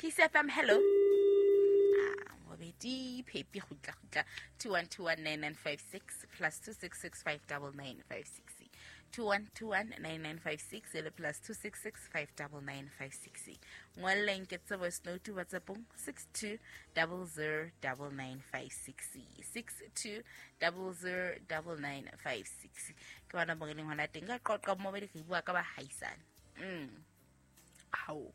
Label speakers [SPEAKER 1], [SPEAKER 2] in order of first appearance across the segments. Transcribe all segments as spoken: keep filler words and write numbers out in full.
[SPEAKER 1] P C F M, hello. Ah, mobedi phepi kgutla kgutla two one two one nine nine five six plus two six six five double nine five six two one two one nine nine five six le plus two six six five double nine five six. Ngwalleng ke tse voice note WhatsAppong six two double zero double nine five six six two double zero double nine five six. Ke bona mo re leng hona teng ka qoqa mobedi re bua ka bahaisane. Mm. Hao.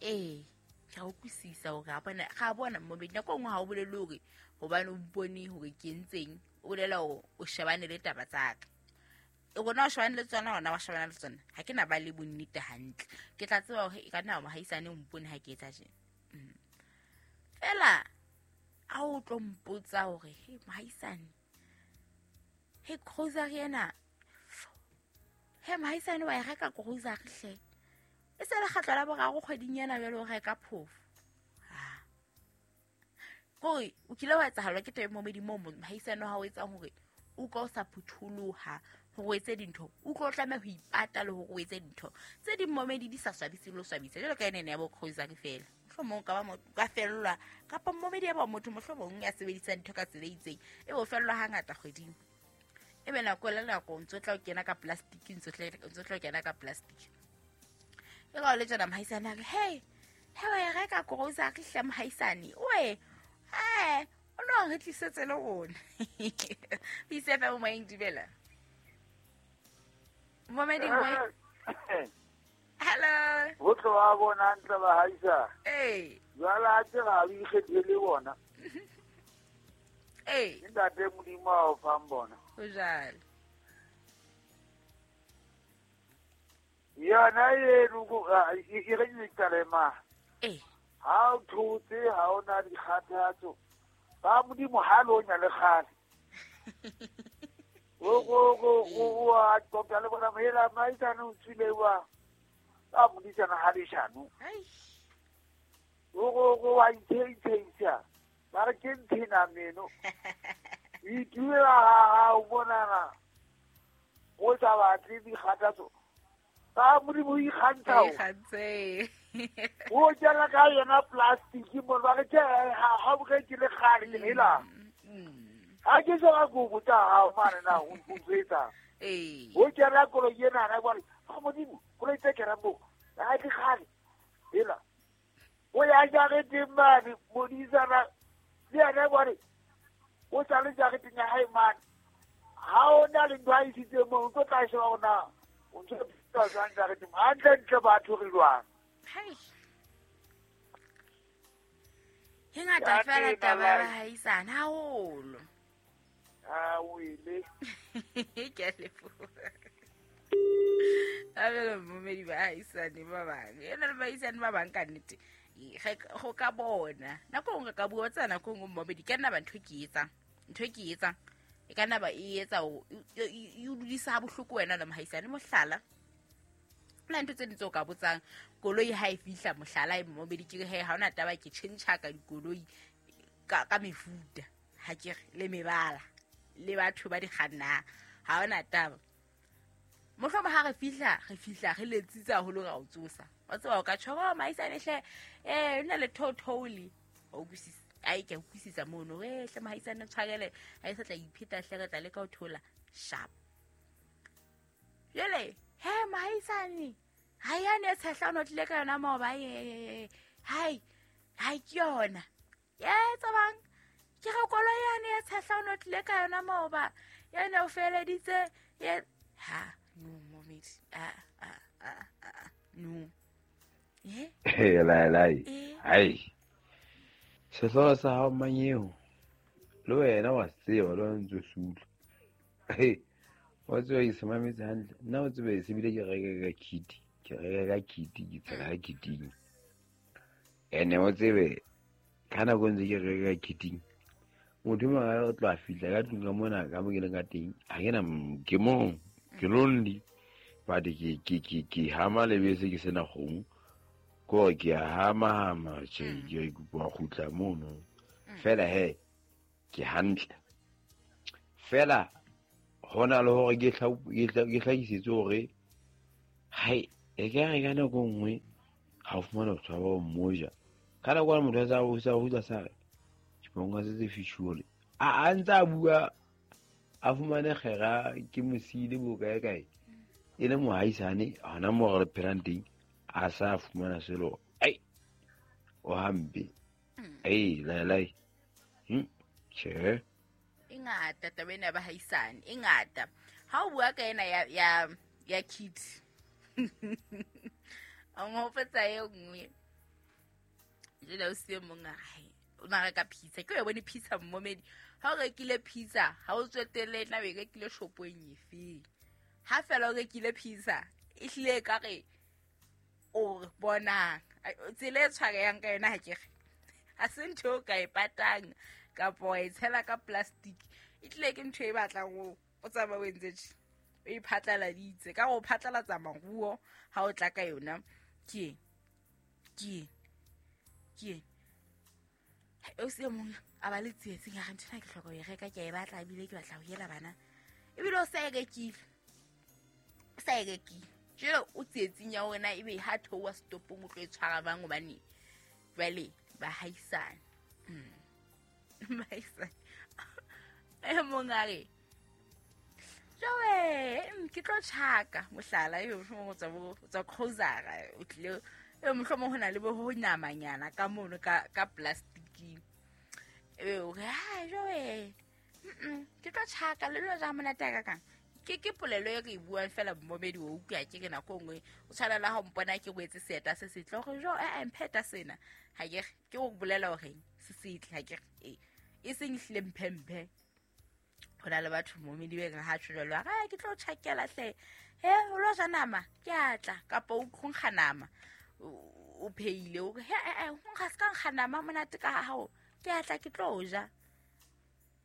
[SPEAKER 1] Eh, ke a utlwisisa hore ha bona ga bona mobedi nako nngwe ha o bolele hore hobane o mpone hore ke entseng, o bolela hore o shebane le taba tsa ka. E rona o shebane le tsona, hona wa shebana le tsona. Ha ke na ba le bonnete hantle. Ke tla tseba hore e ka nna mohaisane o mpone ha ke etsa tjena. Mm. Fela ha o tlo mpotsa hore he mohaisane, he grocery ena, he mohaisane wa e reka grocery hle. E se le kgetlo la boraro kgweding ena jwale o reka phofo. Ha. Kore o kile wa etsahalwa ke taba e momedi moo mohaisane wa hao o etsang hore o utlwa o sa phutholoha hore o etse dintho, o utlwa o tlameha ho ipata le hore o etse dintho tse ding momedi di sa swabise le ho swabisa jwalo ka ene ya bo grocery fela. Mohlomong o ka ba motho ka fellwa kapa momedi ya ba motho mohlomong ya sebedisang ntho ka tsela e itseng e bo fellwa hangata kgweding. Ebe nako le nako o ntso tla o kena ka plastic, ntso tla o ntso tla o kena ka plastic. E ka o le tjena mohaisane a re, hey, he wa e reka grocery hle mohaisane, oe, eh, o no re tlisetse le rona. P C F M moyeng, dumela. Momedi moyeng. Hello.
[SPEAKER 2] Ho tloha bona ntle ba haisa.
[SPEAKER 1] Eh.
[SPEAKER 2] Jwale a tse ga o ikgethele bona.
[SPEAKER 1] Eh.
[SPEAKER 2] Ntate Modimo a o fang bona.
[SPEAKER 1] Ho jwalo.
[SPEAKER 2] Yona eno ko e re ke kalema.
[SPEAKER 1] Eh.
[SPEAKER 2] Ha o thotse ha o na dikgathatso. Ba Modimo ha lo nya le kgale. O go go go wa qoqa le bona hela maisane o tswile wa. Ba modisana ha leshano.
[SPEAKER 1] Ai.
[SPEAKER 2] O go go wa itheisa. Ba re ke nthena meno. Ituela ha o bonana. O sa batle dikgathatso. Ba Modimo o ikgantsha o.
[SPEAKER 1] Ikgantse.
[SPEAKER 2] O jala ka yona plastic mo ba re ke ha ha o ke le kgale ke hela. Ha ke sa go botsa ha o mane na o mpetsa.
[SPEAKER 1] Eh.
[SPEAKER 2] O jala koloi ena na ba re ha Modimo koloi tse kera mo. Ha ke kgale. Hela. O ya jareteng mane modisana le yena ba re o sa le jareteng ya hae mane. Ha o na le ntho a isitse mo o tlo tla sheba hore na o ntse o jwang jareteng. Hantle ntle batho re jwang.
[SPEAKER 1] Hai. E ngata fela taba ya bahaisane haholo.
[SPEAKER 2] Ah, o ile.
[SPEAKER 1] Ke a leboha. Abelo momedi bahaisane ba bang. Ena le bahaisane ba bang ka nnete. Go ka bona. Nako nngwe ka bua tsa nako nngwe momedi ka nna ba ntho ke etsang. Ntho ke etsang. E ka nna ba e etsa o e o dudisa ha bohloko wena le mohaisane mohlala. La ntho tse ding tseo ka botsang koloi ha e fihla mohlala e momedi ke re he ha ona taba ke tjhentjha ka dikoloi ka ka mefuta ha ke re le mebala le batho ba di kgannang ha ona taba. Mohlomong ha re fihla re fihla re letsitse haholo ra o tsosa. Wa tseba o ka tjho oh mohaisane hle eh o na le thotholi o utlwisisa ai ke utlwisisa mono eh hle mohaisane tshwarele ha e sa tla ipheta hle re tla leka ho thola sharp. Jwale he mohaisane ha ya ne tshehla o tlile ka yona maoba e hai hai ke yona ye tsabang ke re koloi yane ya tshehla o tlile ka yona maoba yena o feleditse ye ha no momedi a a a a no eh
[SPEAKER 3] he la la
[SPEAKER 1] eh
[SPEAKER 3] hai sehlooho sa hao manyeo le wena wa tseba le wena ntse o se utlwa. He wa tseba ke se mametse hantle nna o tsebe se bile ke reka ka kit ke reka ka kit ke tshela ka kiting ene o tsebe ka nako ntse ke reka ka kiting motho mang a tlo a fihla ka tlung ka mona ka mo ke leng ka teng ha ke na ke mong ke lonely but ke ke ke ke hama lebese ke sena kgomo ko ke a hama hama tjhe ke kopa kgutla mono fela he ke hantle fela hona le hore ke ke hlahisetse hore hai e ka re ka nako nngwe ha Ha o fumana batho ba ba mmoja. Ka nako ena motho a sa o sa o sa re ke bonga se se fishuole. A a ntse a bua a fumane kgera ke mosile bo kae kae. E le mohaisane hona mo re phelang teng a sa fumana selo. Ai o hampe. Ai lai lai. Hm che.
[SPEAKER 1] E ngata taba ena ya bahaisane, e ngata. Ha o bua ka ena ya ya ya kid. A mo fetsa e nngwe. Jela o se mong a re o na reka pizza. Ke o bone pizza momedi. Ha o rekile pizza, ha o tswetele na o rekile shopong efe. Ha fela o rekile pizza, e hlile ka re o bona tsela e tshwareyang ka yona ha ke re. Ha se ntho o ka e patang kapa wa e tshela ka plastic. E tlile ke ntho e batlang o o tsamaya o entse tje. O e phatlaladitse ka go phatlalatsa maruo ha o tla ka yona. Ke ke ke o se mong a ba le tsietsing ya re ntho ena ke hloka ho e reka, ke a e batla ebile ke batla ho yela bana. Ebile o sa e rekile. O sa e rekile. Jwale o tsietsing ya hore na ebe ha theoha setopong o tlo e tshwara bang hobane jwale bahaisane. Mm. Bahaisane. E mong a re jwale ke tlo tjhaka mohlala eo mohlomong o tswa bo tswa grocery o tlile e mohlomong ho na le bo ho namanyana ka mono ka ka plasticing. E o re ha jwale mm ke tlo tjhaka le lo ja monate ka kang. Ke ke polelo e re e buang fela momedi o utlwa ke re nako nngwe o tshwana le ha o mpona ke rwetse seeta se setle hore jo eh mpheta sena ha ke ke o bolela hore se setle ha ke e e seng hlile mphemphe. Ho na le batho momedi be reng ha tjho jwalo ha ke tlo tjhakela hle he o lo ja nama ke a tla kapa o nkga nama o pheile o he eh o nkga se ka nkga nama monate ka hao ke a tla ke tlo ja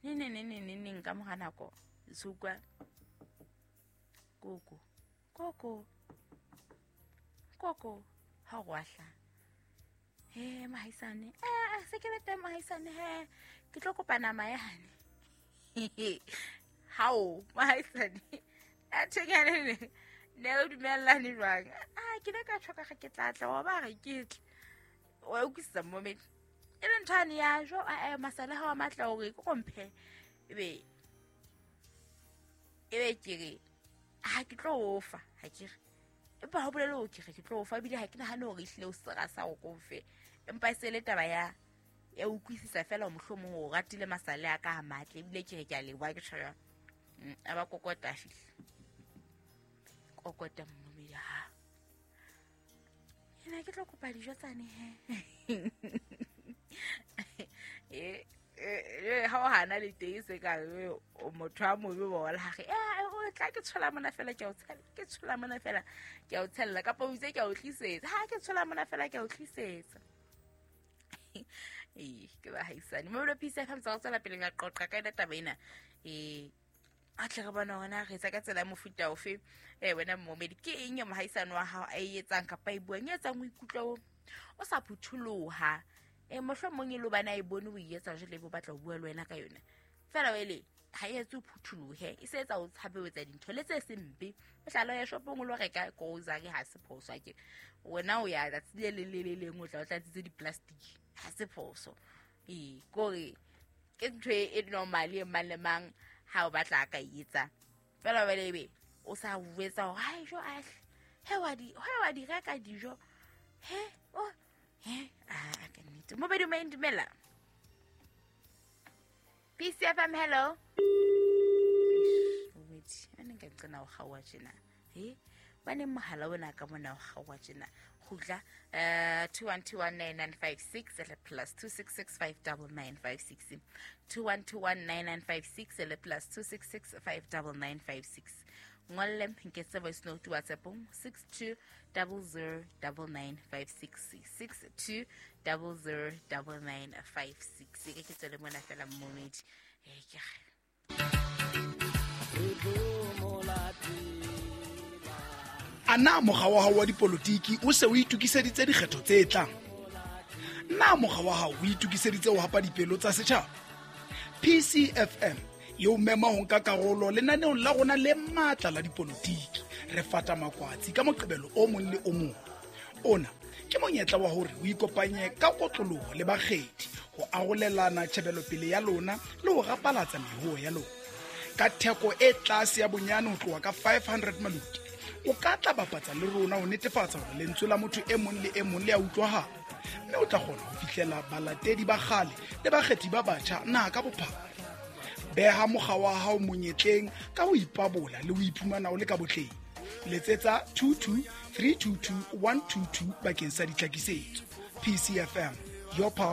[SPEAKER 1] ne ne ne ne ne nka mora nako sukwa koko koko koko ha go ahla he mahaisane eh se ke le teng mahaisane he ke tlo kopa nama ya hane hao mahaisane a thekane ne ne o dumellane jwang a ke le ka tshoka ga ke tla tla wa ba re ke tle wa utlwisisa moment e le ntho ane ya jo a masala ha wa matla hore ke komphe ebe ebe ke re ha ke tlo ofa ha ke re empa ha bolele o ke re ke tlo ofa ebile ha ke nahane hore ehlile o sera sa o kofe empa e se le taba ya ya utlwisisa fela mohlomong o ratile masale a ka a matle ebile ke re ke a leboha ke tjho a ba kokota fihla kokota mmomedi ha ena ke tlo kopa dijo tsane he e e ha o hana le teng se ka o motho a mobe ba la re eh o tla ke tshola mona fela ke a o tshela ke tshola mona fela ke a o tshella kapa o itse ke a o tlisetsa ha ke tshola mona fela ke a o tlisetsa eh ke ba haisane mo lo pisa fa ntse go tswela pele ka qoqa ka ena taba ena eh a tle re bona hore na re etsa ka tsela ya mofuta ofe eh wena momedi ke eng ya mohaisane wa hao a e etsang kapa e buang e etsang o ikutlwa o o sa phutholoha e mohlomong e lo bana e bone o e etsa jwale bo batla ho bua le wena ka yona fela wele ha e etse o phutholohe e se etsa o tshabe o etsa dintho le tse sempe mohlala ya shopong o lo reka grocery ha se phoso ke wena o ya tsatsi le le le leng o tla o tlatsitse di-plastic ha se phoso ee kore ke ntho e normal e mang le mang ha o batla a ka etsa fela wele ebe o sa etsa hore hai jo ahle he wa di he wa di reka dijo he o he a ka nnete mobedi o dumela P C F M hello wait ane nka nqena o kgaoha tjena he bane mohala ona ka mona o kgaoha tjena kgutla eh two one two one nine nine five six le plus two six six five nine nine five six two one two one nine nine five six le plus two six six five nine nine five six ngolle nketse voice note WhatsApp six two zero zero nine nine five six six two zero zero nine nine five six ke ke tsele mona fela momedi eh ke
[SPEAKER 4] Ana mokga wa hao wa dipolotiki o se o itokiseditse dikgetho tse tlang? Na mokga wa hao o itokiseditse ho hapa dipelo tsa setjhaba? P C F M e o mema ho nka karolo lenaneong la rona le matla la dipolotiki. Re fata makwatsi ka Moqebelo o mong le o mong. Ona Ke monyetla wa hore o ikopanye ka kotloloho le bakgethi ho arolelana tjhebelopele ya lona le ho rapalatsa mehoo ya lona. Ka theko e tlase ya bonyane ho tloha ka five hundred maluti, o ka tla bapatsa le rona ho netefatsa hore lentswe la motho e mong le e mong le a utlwahala, mme o tla kgona ho fihlela balatedi ba kgale le bakgethi ba batjha naha ka bophara. Beha mokga wa hao monyetleng ka ho ipabola le ho iphumana o le ka botleng. Letsetsa two two three two two one two two bakeng sa ditlhakisetso. P C F M, your pulse.